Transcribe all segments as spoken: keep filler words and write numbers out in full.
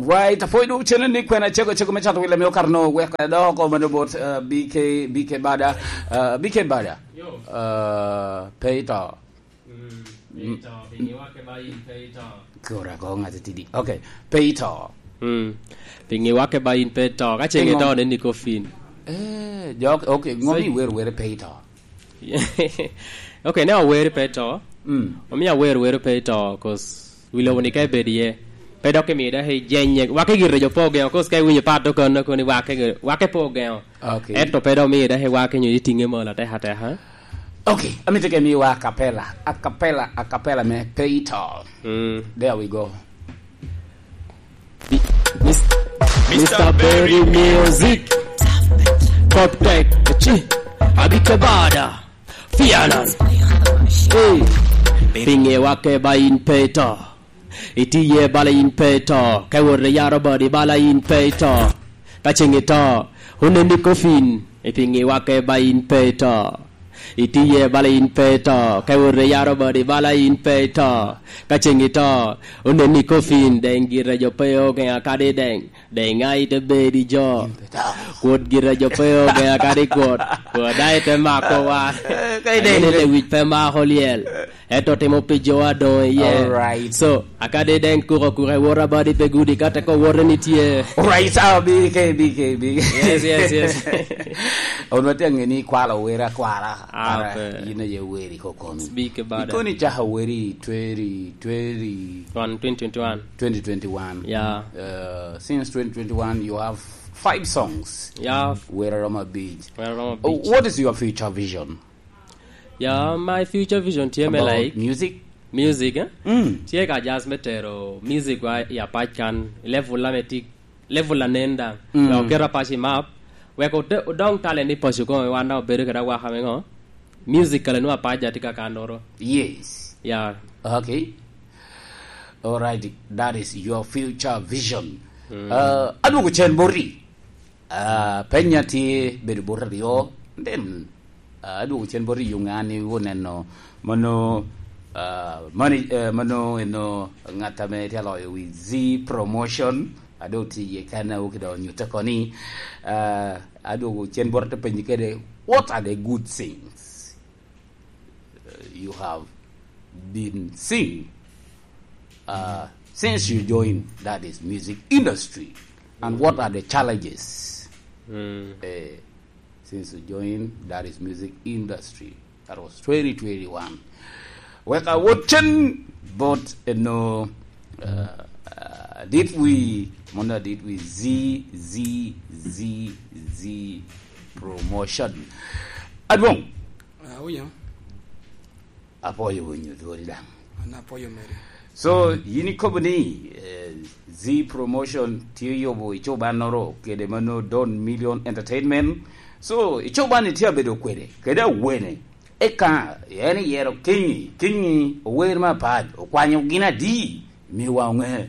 Right, apoi du channel ni kwena chego chego me chato wile me okar no wek da oko mano bot, uh, B K, B K Bada, uh, B K Bada. Yo. Uh, pe ito. Mm, pe ito, pingi wake ba in pe ito. Kora ko ngati tidi. Okay, pe ito. Mm. Pingi wake ba in pe ito. Ka chenge to ne ni kofin. Eh, jok, okay, ngomi wer wer pe ito. Okay, ne aweri pe to. Mm. Omio aweri weri pe to, 'cause wi lobo ni ka ibed iye. Pe dok imiyo dok ijenye. Wake gire jo pe ogeŋo, 'cause ka iwinyo pat to kono, kono ni wake, wake pe ogeŋo. Okay. Ento pe dok miyo dok iwake nyo itiŋe malo ateka ateka. Okay, amito ke miwa a cappella, a cappella, a cappella me pe ito. Mm. There we go. Mister Berry Music. Top Tech, chi, Abike Bada, Fianan. Hey, pinge wake ba in pe ito. Itiye bala in pe ito. Ka iwot i yaro body bala in pe ito. Ka ceng ito, oneni kofin. Ipinge wake ba in pe ito. Itiye bala in pe ito, ka iwot i yaro body bala in pe ito. Ka ceng ito, oneni kofin, deng gire jo pe ogeŋa kadi deng, deng a ite bedi jo. Kwot gire jo pe ogeŋa kadi kwot, kwot a ite mako wa. Eh, ka ideng. Anene lewic pe mako lyel. Ento timo pi jo a doŋ iye. Alright. So, akadi deng kuko kuko i wora body pe gudi ka teko wote ni tye. Alright, so, B K, B K, B K. Yes, yes, yes. Onwa tye ŋe ni kwala owere akwala. Ah, okay. Ara, yin aye weri ko komi. Speak about it. Ikoni caka weri twenty twenty. One, twenty twenty-one. Twenty twenty-one. Yeah. Uh, since twenty twenty-one, you have five songs. Yeah. Wera Roma Beach. Wera Roma Beach. Oh, what is your future vision? Ya, my future vision tye me, about, like, music? Music, eh? Mm. Tye ka jazz me tero music wa i apac kan, level la me tik, level la nen daŋ. Mm. Wek oket apac i map, wek ode-, odong talent i paco koŋ, wan daŋ obedo kede awaka me ŋo? Music kala nwa apac ja tye ka kanoro. Yes. Ya. Okay. All right, that is your future vision. Mm. Uh, adwogo cen boti. Ah, penya tye bedo bot aryo, then, ah, adwogo cen bot i yuŋe an iwinyo neno mano, ah, mani-, eh, mano eno ŋat ame tye aloyo wi Z Promotion, a doŋ tye iye kan a oki doŋ onyutte oko ni, ah, adwogo cen bot ate penyi kede, what are the good things uh, you have been seeing, uh, since you joined that is music industry, and what are the challenges, mm, uh, since you joined that is music industry? That was twenty twenty-one. Wek awot cen bot eno, uh, uh, did we, mona did we Z, Z, Z, Z Promotion? Adwoŋ. Ah, winyo. Apwoyo winyo dwori daŋ. An apwoyo meri. So, yin ikobo ni, eh, Z Promotion tye yubo icobannoro kede mano Don Million Entertainment. So, icobanni tye abedo kwede, kede awene. Eka, en iyero Kingi, Kingi ower me apac, okwanyo gin adi? Miwa oŋe.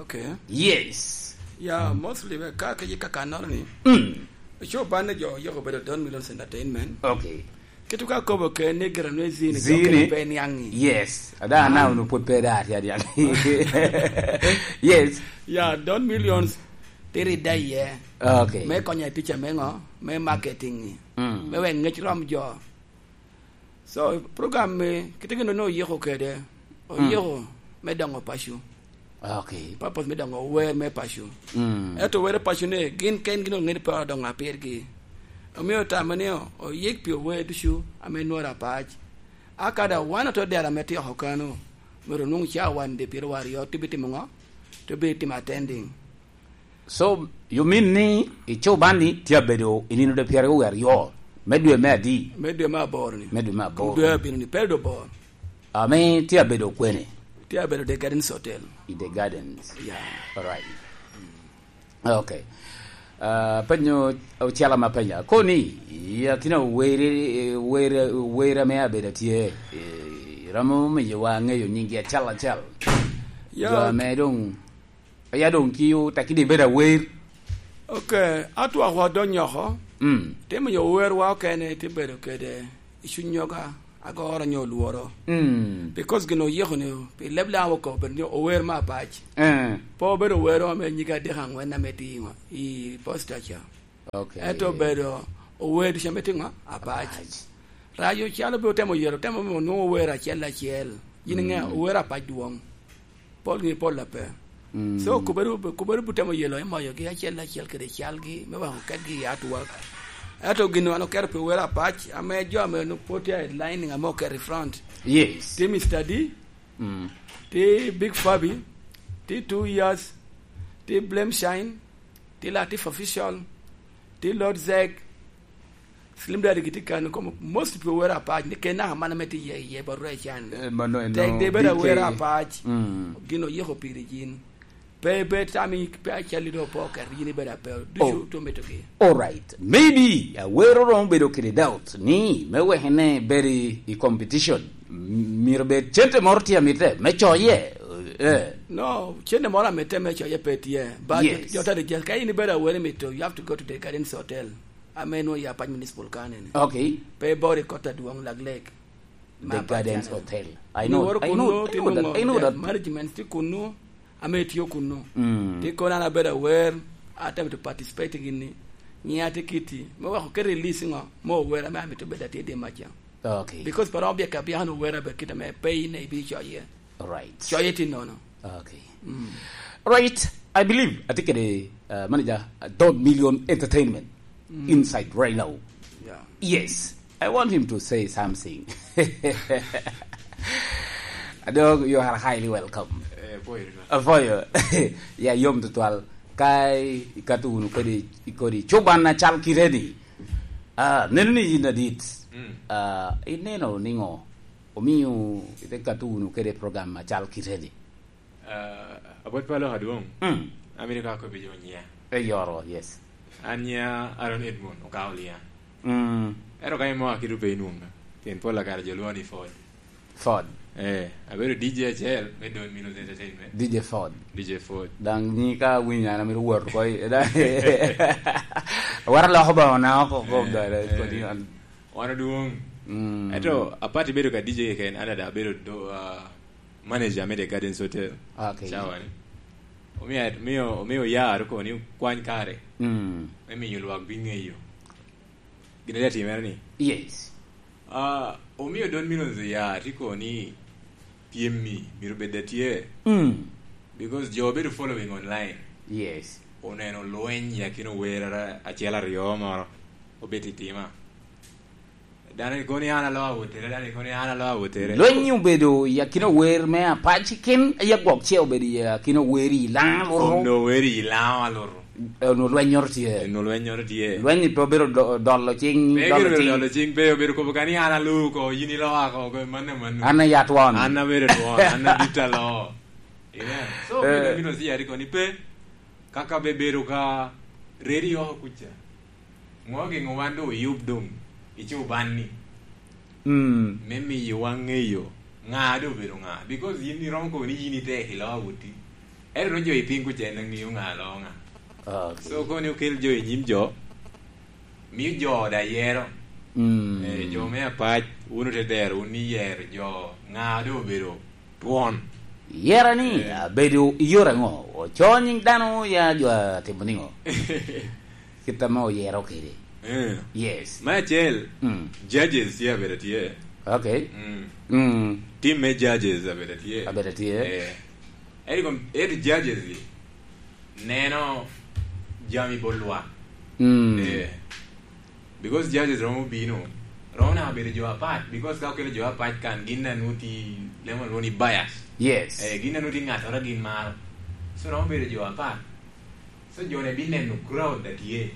Okay. Yes. Ya, mostly, we ka kec i kakannoro ni. Mm. Cobanne jo oyiko bedo Don Millions Entertainment. Okay. Kit ka kobo ke ni gira nwe zini, zini, jo kene pe niaŋi. Yes. Ada, ah, na unu pwod pe da ati adiaŋ. Yes. Ya, Don Millions tiri da iye. Okay. Me konyo i picha me ŋo? Me marketing. Mm. Me wek ŋec rom jo. So, program me, kite gin onongo oyiko kede, mm, oyiko me dongo paco. Okay. Purpose me dongo wer me paco. Mm. Ento wer paco ni, gin ken gin ongeyo ni pe odongo apirgi. Omio tamo ni o-, oyik pi ower ducu ame nworo apac. Aka da wan oto dera me tyeko kano, myero onwoŋ ca wan de pyero aryo, to bitimo ŋo? To bitimo attending. So, you mean ni i Cuban ni tye abedo i nino de pyeraryo aryo, me dwe me adi? Me dwe me aboro ni. Me dwe me aboro. Dwe abino ni, pe dwe aboro. Ame tye abedo kwene? Tye abedo The Gardens Hotel. I The Gardens. Yeah. All right. Okay. Ah, penyo ocel ama penya. Koni, i akina were, were, were ame abedo tye, eh, romo miyo wa ŋeyo nyingi acel acel. Yeah. Jo ame dong Aya doŋ ki otekki ni ibedo awer. Ok, atwak wa donyo oko. Mm. Te miyo wer wa okene te bedo kede i cuny nyoga. agoro nyo olworo. Mm. Because gin oyiko ni pi leb Laŋo oko bedo ni ower me apac. Eh. Pe obedo owero ame nyige adek aŋwen ame tye i ŋo-, i posta ca. Okay. Ento obedo ower ducu ame tye ŋo? Apac. Apac. Rajo calo be otemo yero, otemo me onwoŋo ower acel acel. Yin iŋe, mm, ower apac dwoŋ. Pol ngi pol ape. Mm. So, kubere, kubere butemo yelo i moyogi acel acel kede calgi, me weko ketgi i artwork. Ento gin wan oketo pi wer apac, ame jo ame onwoŋo pwod tye i lining ame oketo i front. Yes. Tye Mister D, mm, tye Big Fabi, tye Two Years, tye Blame Shine, tye Latif Official, tye Lord Zeg, Slim Daddy gitye kan, komo most pi wer apac, ni ken naka man ame tye iye, iye ba rwec can. Eh, mano en tek de bedo awer apac, mm, gin oyiko piri yin. Pe, pe tami, pe acalli do po ket yin ibedo ape, ducu, oh, to mito gi. All right. Maybe, awero romo bedo kede doubt ni, me weke ne bedo i, i competition, m-, myero bed cente moro tye amite, me coye. Eh. No, cente moro amite me coye pe tye. But, yes, jo tade just, ka in ibedo awero mito, you have to go to the Gardens Hotel. Ame nwoŋo ya Apac Municipal Council ni. Okay. Pe bor i kot adwoŋ Lak Lake. The Gardens Hotel. I know, I know, I know that, I know that. Management tye kunnu, ame itiyo kunnu. Mm. Tye kono an abedo aware, atemo to participate gini. Nyiŋa tye kiti. Me weko kete release ŋo? Mo wer ame amito bedo atye di maca. Okay. Because pe romo byeka byaka no wer abe kit ame pe in ibi coye. All right. Coye tye nono. Okay. Mm. Right. I believe, atye kede, uh, manager, uh, Don Million Entertainment, mm, inside right now. Yeah. Yes. I want him to say something. Adog, you are highly welcome. Eh, boy, uh, for you. Yeah, yom tutwal. Ka i-, ikato wunu kodi, kodi cuban acal kite ni. Ah, neno ni yin adit. Mm. Ah, ineno niŋo? Omio ite kato wunu kede program acal kite ni. Ah, Abot Palo Adwoŋ. Mm. Amito ka akobi jo nyiŋa. E yoro, yes. An nyiŋa Aaron Edmond Okaolia. Mm. Ento ka imoa kite pe inwoŋa. Pien pol kare jo lwoŋa ni Ford. Ford. Eh, abedo D J acel me Don Milos Entertainment. D J Ford. D J Ford. Daŋ ni ka awinyo an amito wot oko i, da-, wara loko ba ona oko, oko, eh, da, da, eh, kodi an. Wan odwoŋ. Mm. Ento, apart ibedo ka D J keken, an ada abedo do, ah, manager me The Gardens Hotel. Okay. Cawa ni. Omio, omio, omio yar oko ni kwany kare. Mm. Me miyo lwak biŋeyo gin ame atimere ni. Yes. Ah, omio Don Milos ya tye kono ni pyem-mi myero bed atye. Mm. Because jo obedo following online. Yes. Oneno lweny i akina ower ara-, acel aryo moro obed i tima. Dano kono ni an alo awotere, dano kono ni an alo awotere. Lweny obedo i akina ower me apac ken, aye gwok ce obedo i akina ower i Laŋo alutu. Onwo ower i Laŋo alutu. Eh, onwo lwennyoro tye. Onwo lwennyoro tye. Lweny pe obedo do-, dolo cing, pe dolo obedo cing. Dolo cing, pe obedo kobo ka ni an aloo oko, yin iloo oko, oko, manno, manno. An aye atwon. An abedo twon, an adit aloo. Amen. So, eh, obedo mito si yari koni pe, kaka be bedo ka ready oko kuca. Ŋo ogeŋo wan doŋ oyub doŋ i cuban-ni? Mm. Me miyo wan ŋeyo ŋa doŋ obedo ŋa. Because yin iromo kobo ni yin itek i loo awoti. Ento doŋ jo i piny kuca en aŋeyo ŋa loo ŋa. Okay. So, kono ni okel jo i nyim jo, mio jo da yero. Mm. Eh, jo me apac, wun ote dero, wun iyero jo ŋa doŋ obedo twon. Yera ni, eh, abedo i yore aŋo? Oco nyiŋ dano ya jo atimo niŋo? Kit ame oyero kede. Eh. Yes. Me acel, mm, judges tye abedo tye. Okay. Mm. Mm. Team me judges abedo tye. Abedo tye. Eh. Eri kom-, eri judges-gi neno jami bot lwak. Mm. Eh. Because judges romo bino, romo naka bedo jo apac, because ka okelo jo apac kan, gin nanu ti, lemo lwongo ni bias. Yes. Eh, gin nanu ti ŋattoro gin maro. So, romo bedo jo apac. So, jo-ni bineno crowd a tye.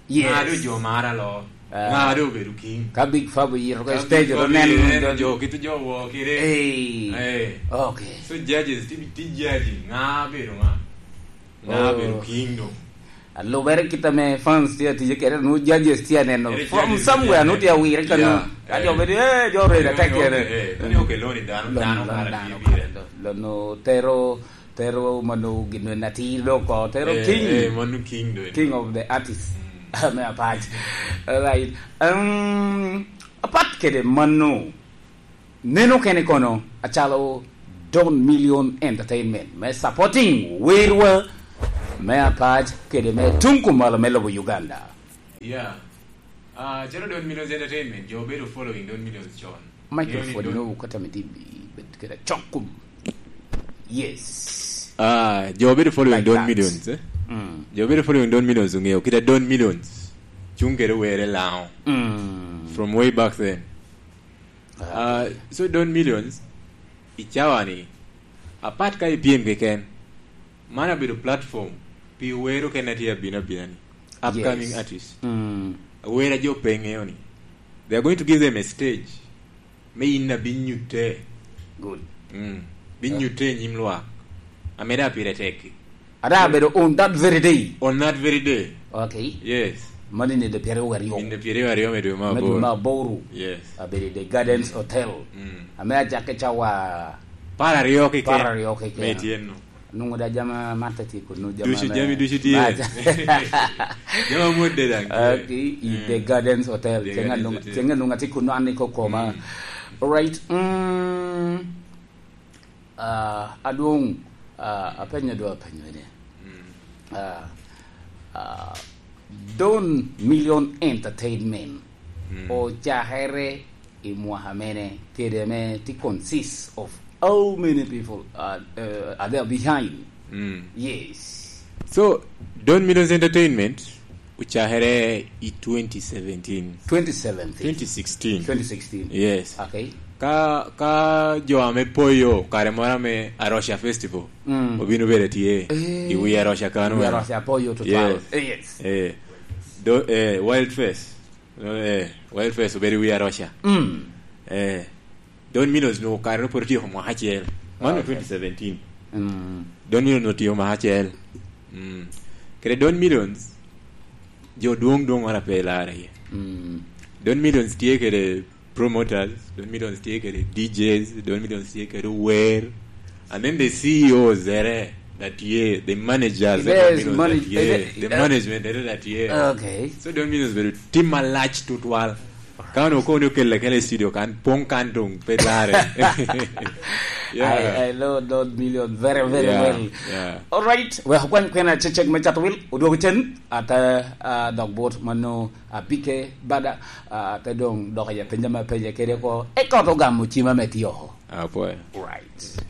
Yes. Ŋa doŋ jo maro alo? Ah. Ŋa doŋ obedo king? Ka Big Fab oyito ka stage, Big Fab oneno jo kit jo wo kede. Hey. Eh. Okay. So, judges ti, ti judging ŋa bedo ŋa? Ŋa, oh, bedo king doŋ? Alubere kit ame fans tye atic kede, nu judges tye aneno. Ere from judges somewhere, nu tye awire ka, yeah, nu. Ka jo, eh, bedo, eh, jo redo atek kede. Eh, koni okello ni dano, dano kara tye bire. Lo-, lo-, lo-, nu tero, tero mano gin atir do oko, tero, eh, king. Eh, mano king do. King of the artist. Mm. Ame apac. Right. Um, apat kede mano, Neno kene kono acalo Don Million Entertainment me supporting werwa me apac kede me tung kumalo me lobo Uganda. Yeah. Ah, calo Don Millions Entertainment, jo obedo following Don Millions con. Michael Ngeo ni Ford Don- Nobu kata me dibi bed kede acok kum. Yes. Ah, jo obedo following Like Don that. Millions, eh? Mm. Jo obedo following Don Millions ongeo kit a Don Millions cung kede were Lango. Mm. From way back then. Ah, so Don Millions, i cawa ni, apat ka i pyem keken, man abedo platform pi wero kene tye abino abina ni. Upcoming Yes. Artist. Mm. Awera jo pe ŋeo ni. They are going to give them a stage. Me in na bin nyutte. Good. Mm. Bin Yeah. nyutte i nyim lwak. Ameda pire tek. Ada abedo on that very day. On that very day. Okay. Yes. Mani ni de pyeraryo aryo. In de pyeraryo aryo me dwe ma Me dwe aboro. ma aboro. Yes. Abedo i the Gardens Hotel. Mm. Ame acakke cawa Par aryo keken. Par aryo keken. Me tyenno. Nungo da jama mata tye kunu jama Ducu me jami ducu tye. Baca. Jama mudde dang tye. Okay, i Mm. the Gardens Hotel. The Ceng Gardens anung-, Hotel. Ceng anung ati kunu an iko koma. Mm. Alright. Mm. Ah, adwong, ah, apenyo dwa apenyo ene. Mm. Ah, ah, Don Million Entertainment Mm. ocakere i mwaka mene, kede ame ti consist of how many people are, uh, are there behind? Mm. Yes. So, Don Millions Entertainment ocakere i twenty seventeen. Twenty seventeen. Twenty sixteen. Twenty sixteen. Yes. Okay. Ka, ka jo ame poyo kare moro ame Arusha Festival, Mm. obino bedo tye Eh, i wi Arusha kano wi eno. Arusha poyo to Yes. twal. Eh, yes. Eh. Do, eh, Wild Fest. Eh, Wild Fest obedo i wi Arusha. Mm. Eh. Don Millions no kare no pwod otyeko mwaka acel. Mano Okay. twenty seventeen. Mm. Don Millions otyeko mwaka acel. Mm. Kede Don Millions, jo dwong dwong wan ape larre iye. Mm. Don Millions tye kede promoters, Don Millions tye kede D Js, Don Millions tye kede wer. And then the C E Os ere that year, the managers, Yes, Don Millions manage-, that year, eh, the eh, management ere that year. Okay. So Don Millions bedo team malac tutwal. Ka onwoŋo kono okelle kene i studio kan, poŋ kan doŋ pe larre. Yeah. I, I know Don Million very, very Yeah, well. Yeah. All right. Wek okwany kwena cecek me cato wil, odwogo cen, ata, ah, dog bot mano abike bada, ah, te doŋ dok ya penja ma penja kede ko, eka to gamo cima me tio. Apwoyo. Right.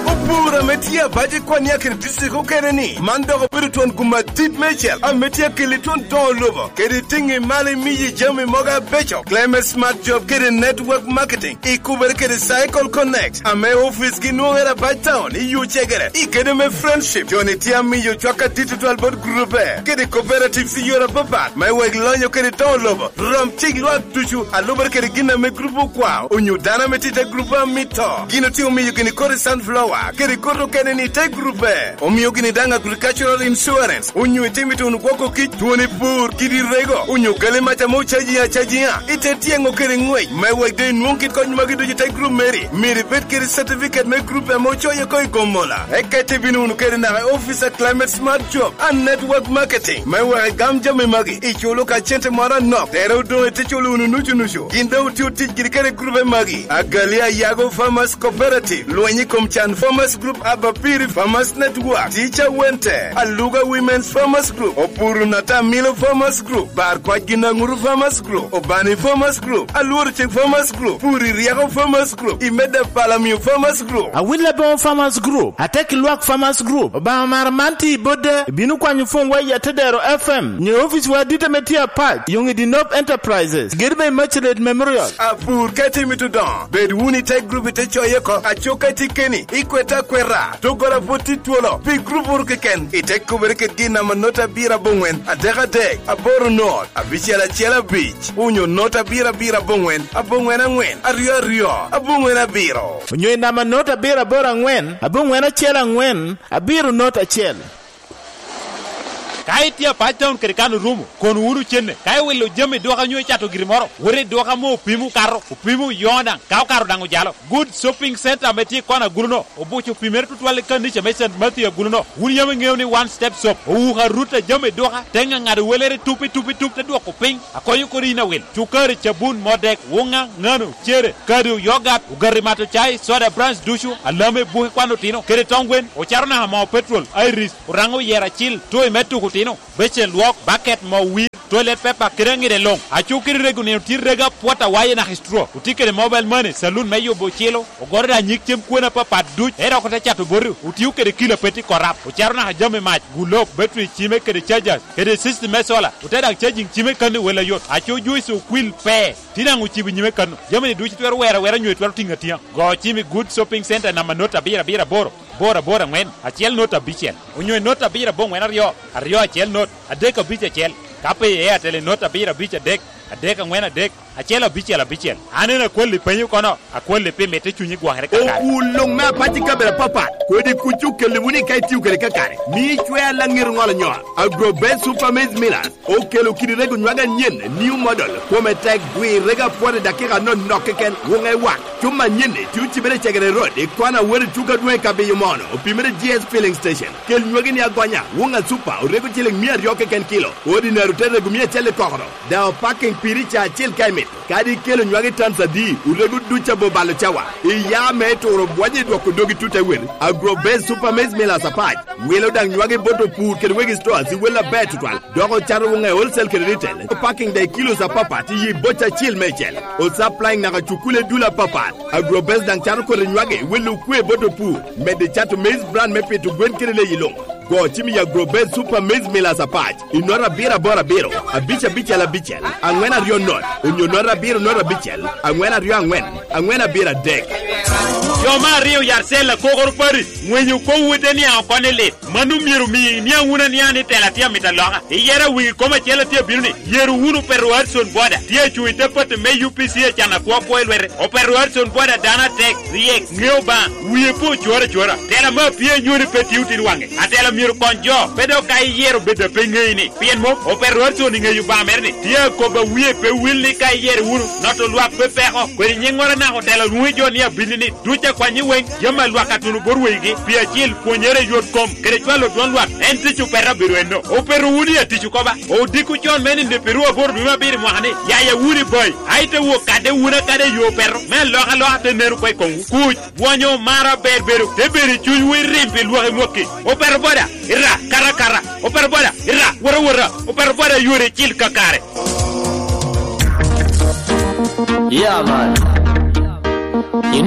Opur ame tye abac i Kwania kede district okene ni, man dok obedo twon gum adit meicel ame tye akeli twon doŋo lobo, kede tiŋi malo imiyi jami mogo abeco. Climate Smart Job kede Network Marketing ikubere kede Cycle Connect, ame ofice gi nwoŋere abac town i Yucegere, i kede me Friendship. Joni tye amiyo cwak adit tutwal bot grupe kede cooperatives i yore apapat, me wek lonyo kede doŋo lobo. Rom cik lwak ducu a lubere kede gin ame grup okwao, onyo dano ame tye i te grup a mito. Gin otye omiyo gini kodi sunflower, kede kodi okene ni i te grupe. Omio gini daŋ agricultural insurance, onyo itimo ituno gwoko kic, twoni pur, kidi rego, onyo gali mac ame ocaji acajiŋa, ite tyeŋo kede ŋwec, me wek doŋ inwoŋ kit kony magi ducu i te grup meri. Myero ibed kede certificate me grup ame ocoyo oko i Gomola. Eka ite bino wunu kede naka i office a Climate Smart Job and Network Marketing, me wek igam jami magi. Iculo ka cente moro anok, tere odoŋ ite culo wunu nucu nucu. Gin doŋ otio tic giri kede grube magi: Agali Ayago Farmers Cooperative, Lweny i kom Can Farmers Group, Abapiri Farmers Network, Teacher Wente, Aluga Women's Farmers Group, Opuru Natamilo Farmers Group, Bar Kwac Ginaŋuru Farmers Group, Obani Farmers Group, Alworo Cik Farmers Group, Puri Ryeko Farmers Group, Imeda Palamio Farmers Group. Awil Aboŋo Farmers Group, Atek Lwak Farmers Group, Obaŋa Mara man tye i Bodda, ibino kwanyo pwony wa i Atedero F M, nyo ofice wa adit ame tye apac, Yongidi Nob Enterprises, gedo me Immaculate Memorial. Apur ka itye mito dongo, bed wunu i te grup ite coye oko, acok ka itye keni, ikwete akweta, doggola pwod tye twolo, pi grup wunu keken, ite kubere kede gin namba not abiro aboŋwen, adek adek, aboro not, abicel acel abic, onyo not abiro abiro aboŋwen, aboŋwen aŋwen, aryo aryo, aboŋwen abiro. Onyo i namba not abiro aboro aŋwen, aboŋwen acel aŋwen, abiro not acel. Ka itye apac taun kede kan orumo, kon wunu cenne. Ka iwilo jami i duka onyo icato giri moro, wot i duka ame opimo okato, opimo oyoŋo daŋ, ka okato daŋ ojalo. Good Shopping Center ame tye i kona agulu-no, obuco opimere tutwal i kanica me Saint Matthew agulu-no. Wun yam iŋeo ni One Step Shop owuko arut a jami i duka, te ŋaŋado welere tup i tup i tup, te dwoko piny, akonyo kodi yin awil. Cukari, cabun, modek, wuŋa, ŋano, cere, kado, yogat, ogati mato cai, soda, brands ducu, alame, buki kwan otino, kede toŋ gwen, ocato naka moo petrol, Iris, Oraŋo oyero acil, toy me tuko otino, becen lwok, baket, moo wir, toilet paper, kede aŋide luŋ. Aco kede rego nino tye rego apwot awaye naka i straw. Otye kede mobile money, saloon me yubo ocilo, ogoro daŋ nyig cem kwena apapat duc, ento dok ote cato boti, otio kede kilo a pe tye korap, ocato naka jami mac, gulok, battery, cime kede chargers, kede system me solar, ote daŋ charging cime kan i wel ayot. Aco Joyce Okwil pe, tye daŋ ocibo nyime kan. Jami-ni ducu itwero wero awera onyo itwero tiŋo atiŋa. Go cim i Good Shopping Center namba not abiro abiro aboro, aboro aboro aŋwen, acel not abicel, onyo i not abiro aboŋwen aryo, aryo acel not, adek abic acel. Ka pe i Airtel i not abiro abic adek, adek aŋwen adek, acel abicel abicel. An en akwalli penyo kono, akwalli pi mitte cunyi gwokere kakare. Okul luŋ me apac i kabedo apapat, kodi kuc okelli wunu ka itio kede kakare. Mi icwer laŋet oŋolo nyo. Agro Best Super Maize Millers okelo kidi rego nywage anyen, new model, kome tek, gwir rego apwot i dakika anonok keken, wuŋe wak. Cuma anyen-ni tye ocibere i Cegere Road, i kona wot i tuko adwoŋ i Kabiyo Mono, opimere G S Filling Station. Kel nywagi-ni agonya, wuŋa Super, orego ciliŋ mia aryo keken kilo, Ordinary te rego mia acel i kokoro, daŋ opaking piri ca acel ka imito. Kadi ikelo nywagi tons adi, orego duc abor balo cawa. Iya me turo bwonyo i dwoko dogi tut awel. Agro Best Super Maize Millers apac, wilo daŋ nywagi bot opur kede wegi stores i wel aber tutwal. Dok ocato wuŋe wholesale kede retail. Parking daŋ i kilos apapat i yi boca acil meicel. O supplying naka cukule dul apapat. Agrobest daŋ cato koti nywage, welo okwe bot opur. Medde cato maize bran me pito gwen kede leyi luŋ. Go cim i Agrobest Super Maize Millers apac i nota abiro aboro abiro, abic abicel abicel, aŋwen aryo not, onyo nota abiro not abicel, aŋwen aryo aŋwen, aŋwen abiro adek. Jo me aryo yat cel akokoro pati, ŋwenyo kop wode niaŋ oko ni lit. Mano myero omi iniaŋ wunu aniaŋa ni tela tye amito aloka. I yero a wigi kom acel a tye abino ni, yero wunu Petero Hudson Boda, tye acuŋ i te pati me U P C acan akwo akwo i lwete. O Petero Hudson Boda dano atek, ryek, ŋeo Obaŋa, wie pe ocoro acora. Tela me apii anywoni pe tye otin waŋe. Atela myero okony jo, pe dok ka iyero bedo a pe ŋeyi ni. Pien mom, o Petero Hudson i ŋeyo Obaŋa mere ni, tye akobo a wie pe wil ni ka iyero wunu, noto lwak pe peko. Kwedi nyiŋŋoro naka otela lwoŋo jo ni abinni ni, duc akwanyi weŋ, jami a lwak atuno bot wegigi, pi acil, pwonyere i yot kom, kede cwalo dwon lwak, en tic opeta obedo enno. Opeto wunu i atic oko ba. Odiko con me nino pi ruu aboro dwe me abiro i mwaka ni, yaya wunu i bai, a ite wok kadde wunu akada i yo opeto, me alokaloka te nen oko i komwu. Kuc, bwonyo, mar aber bedo, te bedo i cunywu i rim pi lwak i mwakki. Opeto boda, ira, kata kata. Opeto boda, ira, wota wota. Opeto boda, yore icil kakare. Yeah, man. You